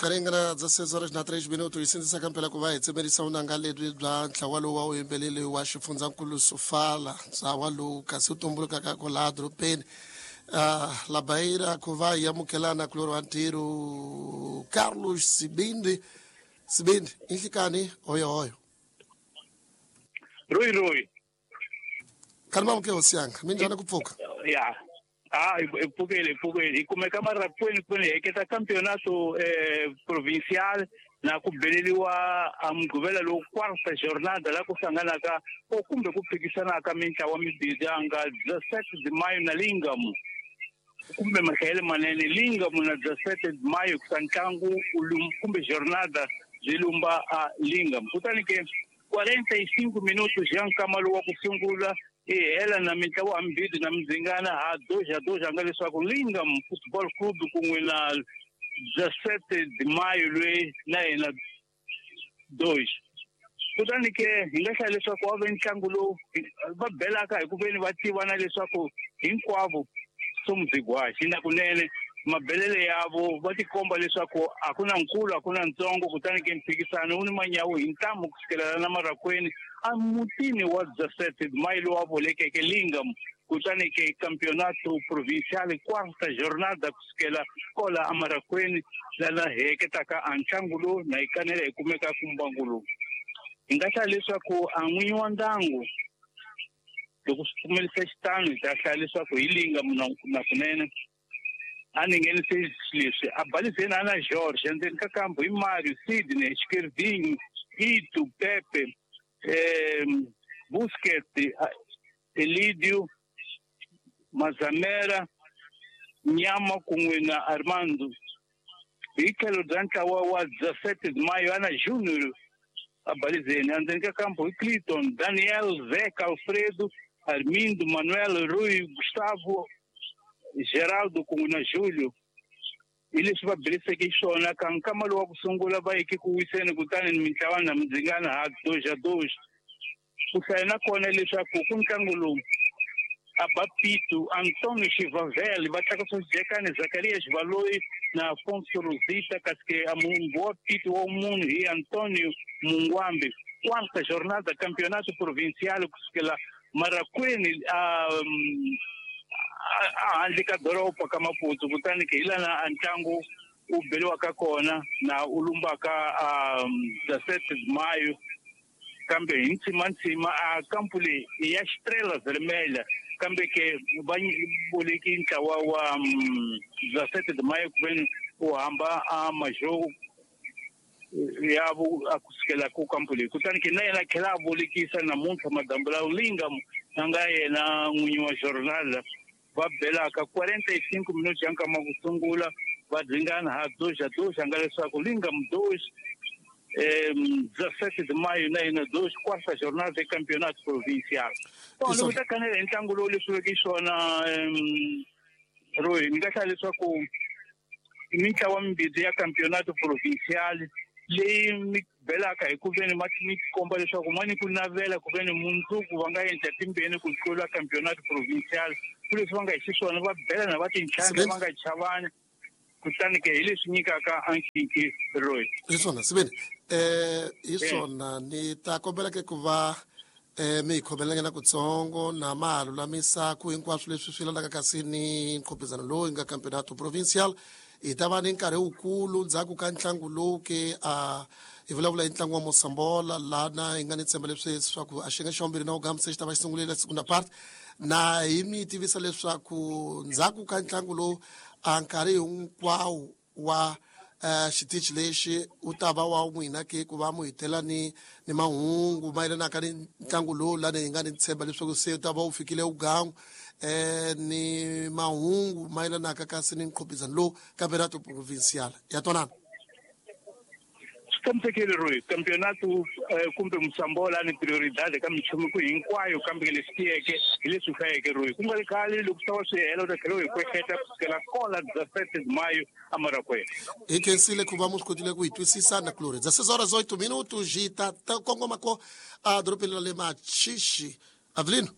Karingana 16 horas na 3 minutos hi sindzisaka mpela ku va hi tsemerisa vunanga lebyi bya ntlawa lowu wa vuyimbeleri wa xifundzankulu Sofala, ntlawa lowu kasi wu tumbulukaka kwalaha dorobeni la Beira ku va hi amukelana kulorhi wa ntirho Carlos Sibindi. Sibindi, i nhlikani hoyohoyo. Royi royi. Khani mamuke hosi yanga, minjhani ku pfuka? Ya. Ah, hi pfukile, hi pfukile. Hi kumeka marapweni kwini hi heketa campeonato provincial na ku beleliwa a Mugqivela lowu quarta jornada la ku hlanganaka o kumbe ku phikisanaka mintlawa mimbirhi ya nga 17 de Maio na Lingam kumbe mahlayelo manene Lingam na 17 de Maio kusa ntlangu kumbe jornada byi lumba a Lingam. Kutani ke 45 minutos ya nkama lowu wa ku sungula i hela na mintlawa hambirhi na mindzingana ha doja doja nga leswaku Lingam Football Club kun'we na 17 de Maio loyi na yena dois. Kutani ke hi nga hlaya leswaku wa ve ntlangu lowu va belaka hi ku veni va tivana leswaku hinkwavo somuzigwaxi na kunene mabelele yavo va tikomba leswaku a ku na nkulu a ku na ntsongo. Kutani ke mphikisano wu ni manyawu hi ntamu ku sukela na marakweni a mutini wa 17 de Maio lowu a vulekeke Lingam. Kutani ke campeonato provincial quarta jornada kusukela kola amarakweni lana hi heketaka a ntlangu lowu na hi kanela hi kumeka ku mbangu lowu. Hi nga hlaya leswaku a n'winyi wa ndyangu loko swi pfumelisa xitano hi ta hlaya leswaku hi Lingam na kunene a ni nghenise leswi a balizeni a na George endzeni ka kambu hi Mario, Sidney, Xikerdinho, Itu, Pepe, Busquets, Elidio, Mazamera, Nyama kun'we na Armando. Hi tlhelo bya ntlawa wa 17 de Maio ana Junior a balizeni endzeni ka kambu hi Clinton, Daniel, Zeca, Alfredo, Armindo, Manuel, Rui, Gustavo, Geraldo kun'we na Julio. Hi leswi va beliseke xiswona ka nkama lowu wa ku sungula va yeke ku wiseni kutani mintlawa na mindzingana ha doja doja. Ku hlaya na kona leswaku ku ntlangu lowu a ba Pito, Antonio Xivavel, va tlakusa xijekani Zakaria Xivaloyi na Afonso Rosita, kasi ke a mumbu wa Pito wa munhu hi Antonio Mungwambi. Quarta jornada campeonato provincial kusukela Marakweni a handle ka doroba ka Maputo. Kutani ke hi lana a ntlangu wu beliwaka kona na u lumbaka a 17 de Maio. Kambe hi ntshimantsima a kampu leyi i ya Estrela Vermelha, kambe ke va boleki ntlawa wa 17 de Maio kuveni u hamba a majogo ya a kusukela ku kampu leyi. Kutani ke na yena a tlhela a bolekisa namuntlha madambu lawa Lingam a nga yena n'winyi wa jornada va belaka 45 minutos ya nkama ku sungula va dzingana ha doja doja nga leswaku Lingam 2 17 de Maio na yena 2 quarta jornada de campeonato provincial. So loko ta kanela hi ntlangu lowu leswi veke xona Roy, ni nga hlaya leswaku mintlawa mimbirhi ya campeonato provincial leyi mi belaka hi ku veni ma mi komba leswaku ma ni ku navela ku veni mundzuku va nga endla timbeni ku tlula campeonato provincial. Ku leswi va nga hi xiswona va belana va tintlhantlha va nga chavani. Kutani ke hi leswi nyikaka a nkhinkhi Roy. Hi swona Sibeni, hi swona ni ta kombela ke ku va mi hi khomelanyana kutsongo na ma ha lulamisa ku hinkwaswo leswi swi landaka kasi ni nkhopizano lowu hi nga campeonato provincial. Hi ta va ni nkarhi wukulu ndzhaku ka ntlangu lowu ke a hi vulavula hi ntlangu wa Mosambola lana hi nga ni tshemba leswi leswaku a xiyenge xa vumbirhi na wugamu se xi ta va xi sungurile segunda part. Na hi mi tivisa leswaku ndzhaku ka ntlangu lowu a nkarhi hinkwawo wa xitichi lexi wu ta va wa n'wina ke ku va mu hitela ni ni mahungu mayelanaka ni ntlangu lowu lani hi nga ni tshemba leswaku se wu ta va wu fikile wugangu ni mahungu mayelanaka kasi ni nkhopizano lowu campeonato provincial ya twanana. Swi tshamisekile Roy, campeonato kumbe Mosambola ni prioridade ka minchumu ku hinkwayo, kambe leswi tiyeke hi leswi hlayeke Roy. Ku nga ri khale loko swi ta va swi hela u ta tlhela u hi kwehleta kusukela kola 17 de Maio a Marakwena. Hi khensile ku va mu swi kotile ku hi twisisa na kulorhi. 16 horas 8 minutos hi ta kongoma ko a dorobeni ra le Machichi. Avelino,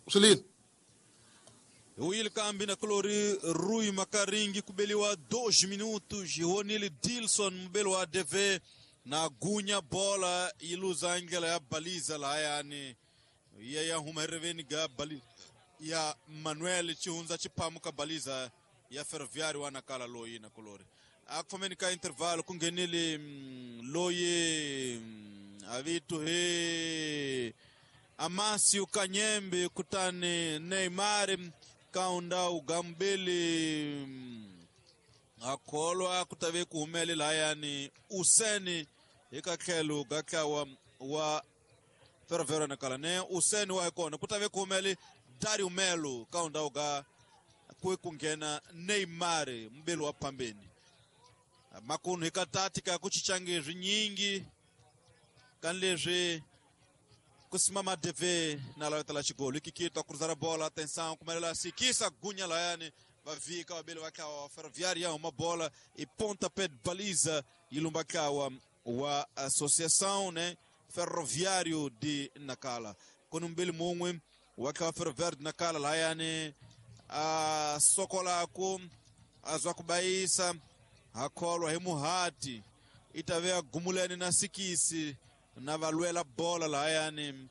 swi lini? Wili kambi na kulori Rui Makaringi kubeliwa 2 minutos Honili Dilson mbelo wa DV na gunya bola iluza angela ya baliza la yani ya ya humereveni ga bali ya Manuel Chihunza chipamuka baliza ya Ferroviário wa Nakala loyi na kulori akufameni ka intervalo kungenile loyi avitu he Amasio Kanyembe kutani Neymar kaunda ugambili akholwa kutave kuhumele layani Useni ikakhelo gakhawa wa Ferroviário Nakala ne Useni wa kona kutave kuhumele Dario Melo kaunda uga kwe kungena Neymar mbelo wa pambeni makunu hikatatika kuchichange zvinyingi kanlezvi kusimama DV na lavetela xigolo ikikitwa kuruzara bola atenção kumelela sikisa gunya layani vavika vabeli vakhawa wa Ferroviário ya huma bola e pontapé de baliza ilumba kawa wa associação né Ferroviário de Nakala kuni mbili mun'we wa khawa Ferroviário de Nakala layani a sokolaku a zwa kubayisa hakholwa hi muhati itave a gumuleni na sikisi na valwela bola lahayani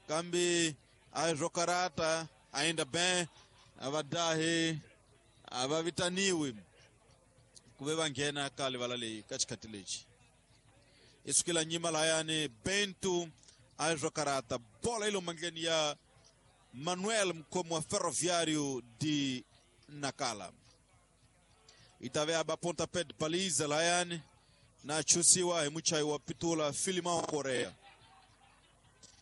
kambe a swo karata ainda bem a va dahi a va vitaniwi ku ve va nghena ka livala leyi ka xikhati lexi i sukela nyima lahayani Bento a swo karata bola yi lo mandleni ya Manuel mkhomi wa Ferroviário de Nakala itave aba pontapé de baliza lahayani na chusiwa hi muchayi wa pitula Filimão Korea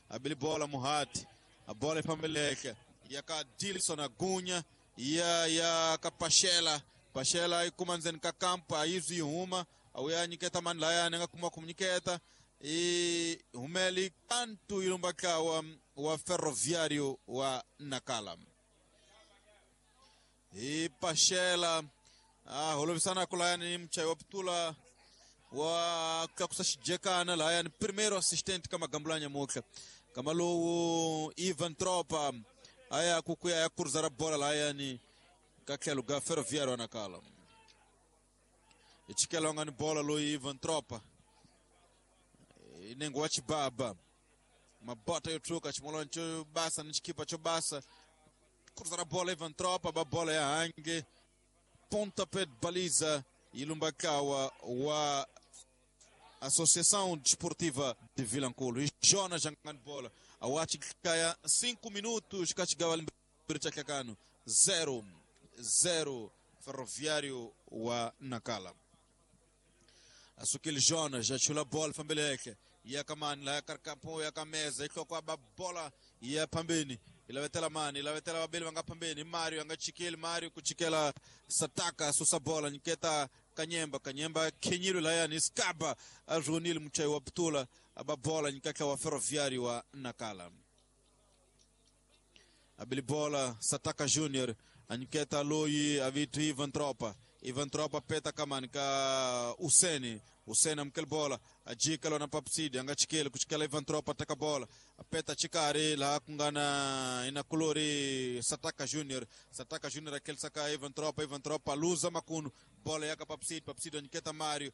abili bola muhati a bola ifambeleke ya ka Dilson Agunya ya ka Pachela Pachela yi kuma ndzeni ka kampa a yi zwi huma a wu ya nyiketa mani layani a nga kuma ku nyiketa i humeli kantu yi lumba ntlawa wa Ferroviário wa Nakala hi Pachela a holovisana ku layani muchayi wa pitula wa tlakusa xijekana lahayani primeiro assistente ka magambulanya mutlha kama lowu Ivan Tropa aya ku kuya ya kuruza ra bola lahayani ka tlhelo ga Ferroviário Nakala i chikela nga ni bola loyi Ivan Tropa nengo wa chibaba mabota yo tshuka ximolwana xo basa ni xikipa xo basa kuruza ra bola Ivan Tropa ba bola ya hange pontapé de baliza ilumba kawa wa Associação Desportiva de Vilanculo. E Jonas jangando bola. Awati kaya 5 minutos kachigava limbiri 0-0 Ferroviário wa Nakala. Asukile Jonas já chula bola fambeleke. Ya kamani la karkapo ya kameza ihloko ba bola ya pambeni. Ilavetela mani ilavetela babeli vanga pambeni Mario anga chikeli Mario kuchikela Sataka susa bola nyiketa Kanyemba Kanyemba kenyiro layani Skaba azwonile muchayi wa putula aba bola nyikaka wa Ferroviário wa Nakala abili bola Sataka Junior anyiketa loyi avitu Ivan Tropa Ivan Tropa peta kamani ka Useni Useni amkel bola ajika lona papsidi anga chikele kuchikela Ivan Tropa taka bola apeta chikari la kungana ina kulori Sataka Junior Sataka Junior akel saka Ivan Tropa Ivan Tropa luza makunu bola yaka papsidi papsidi anyiketa Mario